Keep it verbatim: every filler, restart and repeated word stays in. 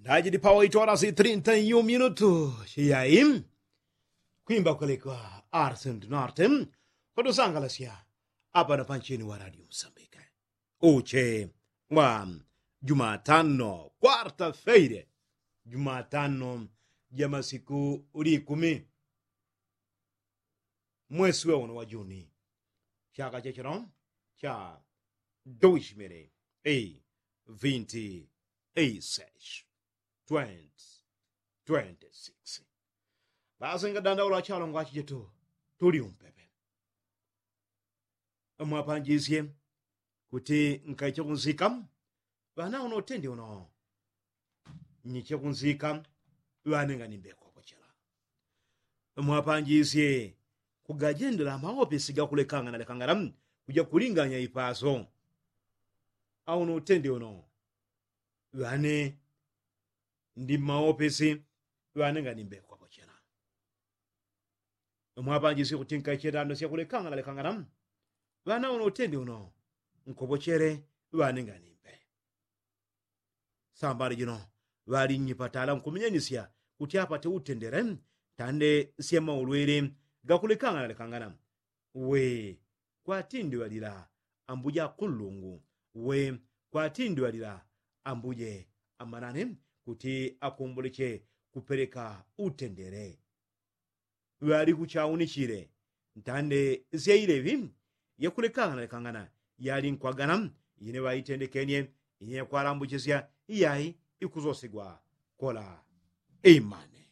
Tajidi pawaitwala si trinta yu minutu. Siyai kwimba kwelekwa arsentinarte. Kotusangalasya apana panchini wa radio msambika. Uche wa jumatano kwarta feire, jumatano ja masiku likumi, mwesi weuno wa juni, chaka chachino cha duishimili ei vinti ei seshi, twenti twenti siksi. Basi ngadandaula chalongo achichetu, tuli umpepe. Mwapanjisye kuti nkaiche kunsika ŵana uno utendi uno nyiche kunsika ŵane nganimbe kwapochela. Mwapanjisye kugajendela maopisi gakulekangana lekangana kuja kulinganya ipaso. Auno utendi uno ŵane ndi mmaopisi ŵane nganimbe kwapochela. Mwapanjisye kuti nkaiche ndando syakulekangana lekangana ŵana uno utendi uno nkopochele ŵane nganimbe. Sambali jino ŵali nnyipatala nkumenyanisya kuti apate utendele ntande sya maulwili gakulekangana lekangana. We kwatindwalila ambuje akunlungu, we kwatindwalila ambuje amanane kuti akumbuleche kupeleka utendele. Ŵali kuchaunichile ntande sya ileŵi yakulekangana lekangana yali nkwagana ine ŵaitendekenye ine yakwalambuchisya iyai ikusosegwa kola. Imane.